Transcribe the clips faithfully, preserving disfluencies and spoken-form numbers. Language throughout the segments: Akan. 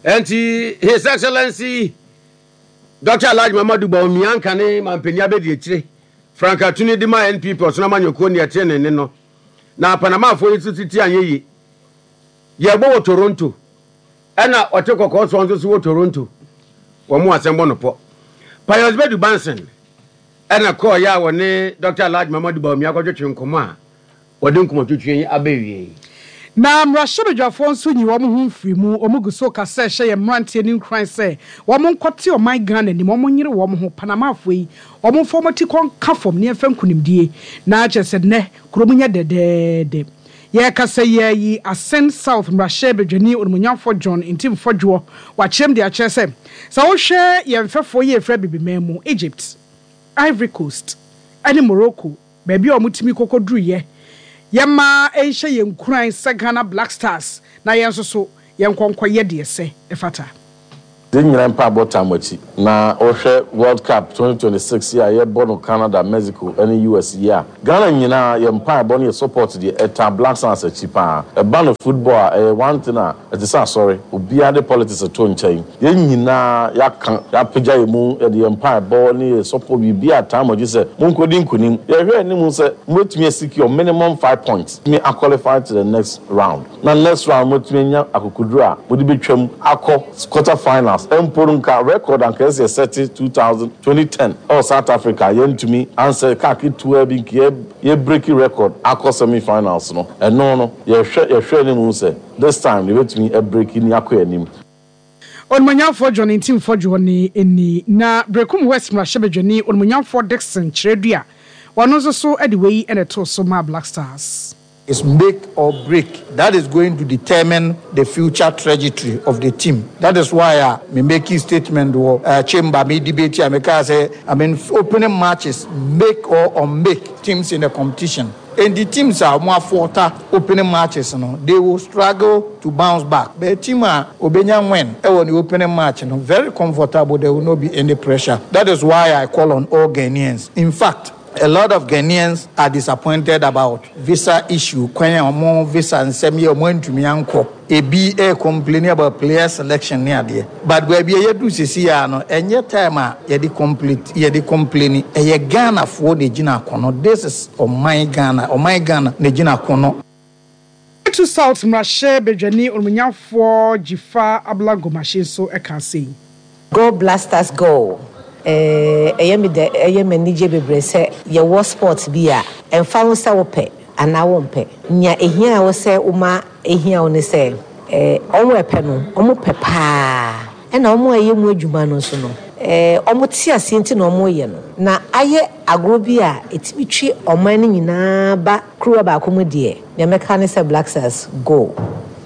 Ɛnti His Excellency Doctor Alhaji Mamadu Bawumia nka ne mampanin abɛdi akyire frankatuni de ma N P P ɔsono amanyɔkuo ne ɛte ne ne no na Panamafoɔ yi nso titi anyɛ yie. Yɛbɔ wɔ Toronto, ɛna ɔte kɔkɔɔ soɔ nso so wɔ Toronto. Wɔn mu asɛm bɔ no pɔ. Pius Bedu Banson ɛna kɔɔ yɛ a wɔne Doctor Alhaji Mamadu Bawumia akɔtwetwe nkɔmɔ a wɔde nkɔmɔtwetwe yi aba wie yi. Na mmarahyɛbadwafoɔ nso nyi wɔn ho mfiri mu. Wɔn gu so kasa ɛhyɛ yɛn mmeranteɛ ne nkuran sɛ wɔn nkɔte ɔman Ghana anim, wɔn nyere wɔn ho. Panamafoɔ yi, wɔn mfa wɔn ti kɔ nka fam ne yɛmfa nkonimdie na kyerɛ sɛ nnɛ kurom nyɛ dɛdɛɛdɛ. Yɛkasa yɛ yi, Assin South mmarahyɛbadwani Onimonyamfoɔ John Ntim Fordjour wakyerɛm de akyerɛ sɛ sɛ wohwɛ yɛn mfɛfoɔ yi efra bibiman mu, Egypt, Ivory Coast ɛne Morocco, baabi a wɔtumi kɔkɔduruyɛ, yɛma ɛnhyɛ yɛn nkuran sɛ Ghana Black Stars na yɛn nso so yɛn nkɔnkɔ yɛ deɛ sɛ ɛfata. Yɛn nyinaa mpa abɔ tam akyi na wɔhwɛ World Cup twenty twenty-six yi a yɛbɔ no Canada, Mexico ne U S yi a, Ghana nyinaa yɛ mpa ɛbɔ no, yɛ support deɛ ɛta Black Stars akyi paa. Ɛba no football a, ɛyɛ one thing a ɛte sɛ asɔre. Obiara de politics to nkyɛn, yɛn nyinaa yɛaka yɛapagya yɛn mu, yɛde yɛn mpa ɛbɔ ne yɛ support biribi a tam akyi sɛ monkɔdi nkonim. Yɛhwɛ anim sɛ mobɛtumi asecure minimum five points tumi aqualify to the next round, na next round mobɛtumi anya akokoduro a mode bɛtwam akɔ quarter finals. Mpo no, nka record anka ɛsɛ yɛsɛte two thousand twenty ten ɛwɔ South Africa, yɛntumi ansɛ kaa ketewa bi nka yɛ break record akɔ semi finals no. Ɛno no yɛhwɛ yɛhwɛ anim sɛ this time yɛbɛtumi ɛbreak ni akɔ anim. Onimonyamfoɔ John Ntim Fordjour ne ni. Na Berekum West mmarahyɛbadwani Onimonyamfoɔ Dixon Kyerɛdua, wɔno nso so de wei na ɛtoo so ma Black Stars. Is make or break. That is going to determine the future trajectory of the team. That is why uh, me making statement or uh, chamber me debate, I me say, I mean, opening matches make or unmake teams in the competition. And the teams are more falter opening matches, you know, they will struggle to bounce back. But team a obenya win eh, the opening match, you know, very comfortable, there will not be any pressure. That is why I call on all Ghanaians. In fact, a lot of Ghanaians are disappointed about visa issue. Kwan a ɔmo visa nsɛm yɛ, ɔmo ntumi ankɔ. Ebi ɛ complaining about player selection ne adeɛ. But baabi a yɛdu sisi ya no, ɛnyɛ time a yɛde complain yɛde complain. Ɛyɛ Ghanafoɔ na egyina akɔnɔ. This is ɔman Ghana, ɔman Ghana na egyina akɔnɔ. Ketu South mmarahyɛ badwani Onimonyamfoɔ Dzifa Abla Gomashie nso ka sei. Go Black Stars, go! Ɛyɛ me dɛ, ɛyɛ me anigye bebree sɛ yɛwɔ sport bi a ɛmfa ho sɛ wopɛ anaa wompɛ. Nea ehia wo sɛ woma ehia wo ne sɛ ɛɛ ɔmo ɛpɛ no, ɔmo pɛ paa, ɛna ɔmo a ɛyɛ mu adwuma no nso no, ɛɛ ɔmo te aseɛ nti na ɔmo yɛ no na ayɛ agorɔ bi a ɛtumi twe ɔman no nyinaa ba kuruwa baako mu. Deɛ nea mɛka ne sɛ Black Stars, go!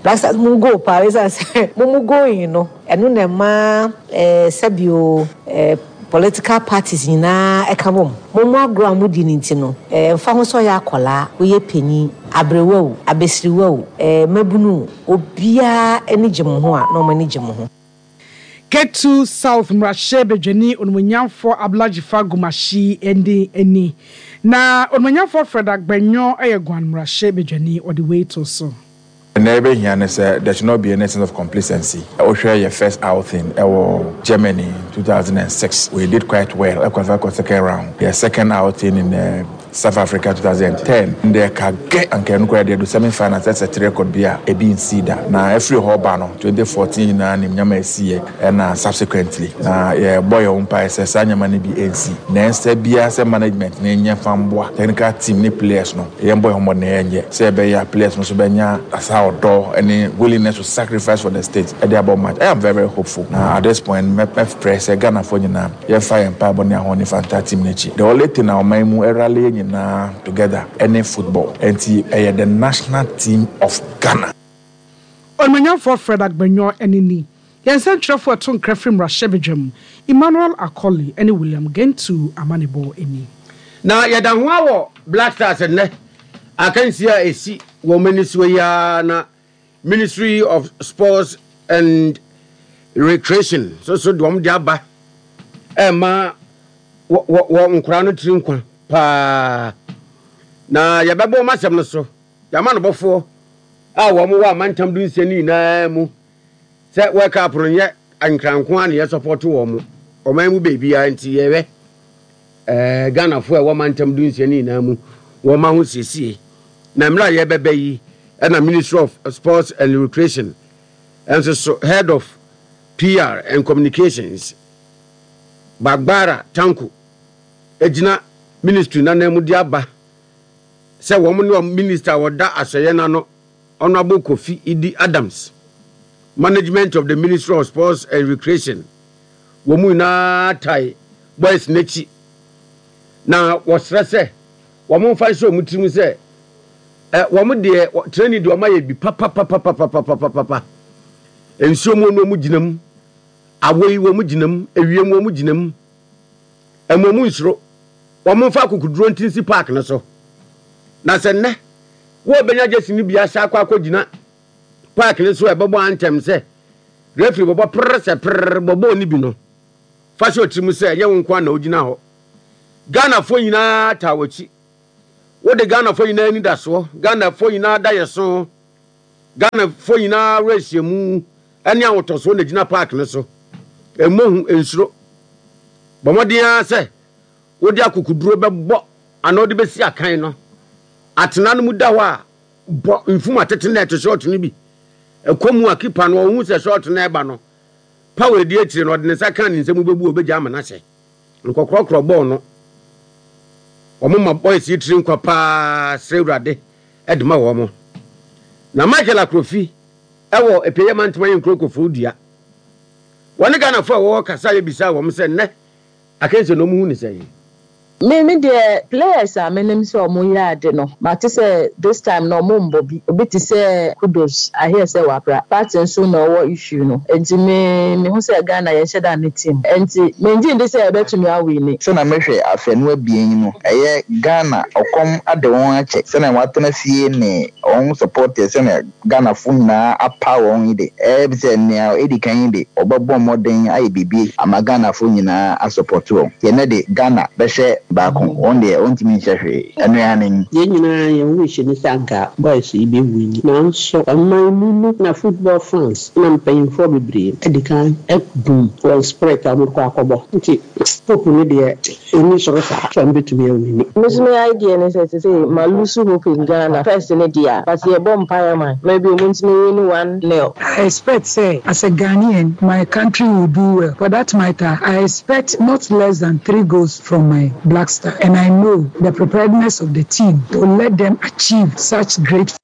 Black Stars, mu go paa, ɛsiane sɛ mo mu going no, ɛno na ɛma ɛɛ sɛbio ɛɛ political parties nyinaa ɛka bom. Mo mu agorɔ a modi ne nti no, ɛɛ mfa ho sɛ ɔyɛ akɔlaa, woyɛ panyin, aberewa o, abesiriwa o, ɛɛ mmabunu o, obiara ani gye mo ho a na ɔmo ani gye mo ho. Ketu South mmarahyɛ badwani Onimonyamfoɔ Abla Dzifa Gomashie ne ani. Na Onimonyamfoɔ Fred Agbenyo yɛ Guan mmarahyɛ badwani, ɔde wei to so. Na ɛbɛhia ne sɛ there should not be any sense of complacency. Wohwɛ yɛ first outing ɛwɔ Germany two thousand six, we did quite well, ɛkɔfa kɔ second round. Yɛ second outing in uh, South Africa twenty ten, ndɛ ka gɛ anka ɛno koraa deɛ do semi finals, ɛsɛ te record bi a ebi nsi da. Na ɛfiri hɔ ba no, twenty fourteen nyinaa nim nyama ɛsiiɛ, ɛna subsequently na yɛbɔ yɛn ho mpaeɛ sɛ saa nyama no bi ɛnsi na ɛnsɛ biara sɛ management na ɛnyɛ fa mboa technical team ne players no. Yɛn bɔ yɛn ho mmɔden na yɛnyɛ sɛ ɛbɛyɛ a players no nso bɛnya asa ɔdɔ ɛne willingness to sacrifice for the state ɛde abɔ match. I am very, very hopeful na at this point mɛfrɛ sɛ Ghanafoɔ nyinaa yɛmfa yɛn mpaebɔ ne ahoɔden fa nta team n'akyi. The only thing a ɔman mu ɛrally yɛn nyinaa together ɛne football, nti ɛyɛ the national team of Ghana. Onimonyamfoɔ Fred Agbenyo ne ni. Yɛn nsɛntwerɛfoɔ ɛto nkra firi mmarahyɛ badwam, Emmanuel Akɔli ne William Gentu amanebɔ ani. Na yɛda ho awɔ Black Stars nnɛ akansi a ɛsi wɔ mani soɔ yi ara, na Ministry of Sports and Recreation so so de wɔn de aba ɛma wɔ wɔ nkwaraa no tiri nkwa paa, na yɛbɛbɔ wɔn asɛm no so. Yɛama no bɔfoɔ a wɔn wɔ amantam du nsia no nyinaa mu. Sɛ World Cup no nyɛ Nkran nko ara na yɛsɔpɔto wɔn, ɔman mu baabiara nti yɛhwɛ ɛɛ Ghanafoɔ a ɛwɔ mantam du nsia no nyinaa mu wɔn ahosiesie. Na mmerɛ a yɛrebɛba yi ɛna Ministry of Sports and Recreation nso so Head of P R and Communications Bagbara Tanko gyina ministry no ananmu de aba sɛ wɔn ne wɔn minister a ɔda asɔeɛ no ano, Honourable Kofi Idi Adams, management of the Ministry of Sports and Recreation, wɔn mu nyinaa tae boys no akyi na wɔsrɛ sɛ wɔn mfa nhyɛ wɔn tirim sɛ ɛ wɔn deɛ training deɛ wɔn ayɛ bi papapapapapapapa. Nsuo mu no wɔn gyina mu, awɔ yi wɔn gyina mu, ewiem wɔn gyina mu, ɛmo wɔn nsuro. Wɔn mfa akokoduro nti nsi park no so na sɛ nnɛ wɔrebɛnya jersey no bi ahyɛ akɔ akɔgyina park no so a ɛbɛbɔ antɛm sɛ referee bɔbɔ prrr sɛ prrr bɔbɔɔ no bi no, fa hyɛ ɔtiri mu sɛ ɛnyɛ wo nko ara na wogyina hɔ. Ghanafoɔ nyinaa taa w'akyi. Wode Ghanafoɔ nyinaa anidasoɔ, Ghanafoɔ nyinaa daeɛso, Ghanafoɔ nyinaa awerɛhyɛmu ne ahotɔsoɔ na ɛgyina park no so. Mmɔ hu, nsuro. Bɔ mmɔden ara sɛ wode akokoduro bɛbɔ anaa wode bɛsi akan no. Atena no mu da hɔ a, bɔ mfum atete nɛɛte short no bi. Ɛkɔ mu a, keeper no ɔhu sɛ short no reba no, power a ɛdi akyire no, ɔde ne nsa ka ne nsam bɛbu a, ɔbɛgya ama no ahyɛ. Nkɔkorɔkorɔ bɔɔl no. Wɔn ma boys yi tiri nkwa paa, srɛ Awurade de ma wɔn. Na Michael Akrofi wɔ Apueeɛ Mantam ayɛ nkuro Kofoɔ Dua. Wɔne Ghanafoɔ a wɔwɔ hɔ kasaeɛ bisaa wɔn sɛ nnɛ akansie no wɔhu no sɛn? Me me deɛ, players a menim sɛ ɔmo yɛ ade no, mate sɛ this time no ɔmo mbɔ bi. Obi te sɛ Kudus, I hear sɛ wapra. Partey nso na ɔwɔ issue no. Nti me mehu sɛ Ghana yɛnhyɛ da nne team. Nti mengye ndi sɛ yɛbɛtumi awini. Sɛnea mehwɛ afanu abien yi no, ɛyɛ Ghana ɔkɔm ade wɔn akyɛ, sɛnea wɔatena fie ne wɔn supporters, sɛnea Ghanafo nyinaa apaw wɔn yi de, ɛyɛ sɛ nea edi kan yi de, wɔbɛbɔ mmɔden ayɛ biribi ama Ghanafo nyinaa asupɔto wɔn. Nti ɛnnɛ de, Ghana bɛhyɛ baako, wɔn deɛ wɔntumi nhyɛ hwee. Ɛno ara ne. Yɛn nyinaa yɛn wish ne sɛ anka boys yi bɛ win, nanso ɔman mu no na football fans na mpanyinfoɔ bebree adi kan adum wɔn spirit a wɔde kɔ akɔbɔ, nti hope no deɛ ɛnni soro saa sɛ wɔn bɛtumi awini. Me nso me idea ne sɛ sesei ma lose hope in Ghana first ne deɛ, but yɛbɔ mpaeɛ ma maybe ɔmo ntumi win one nil. I expect sɛ as a Ghanaian my country will do well. For that matter, I expect not less than three goals from my Black Star and I know the preparedness of the team will let them achieve such great.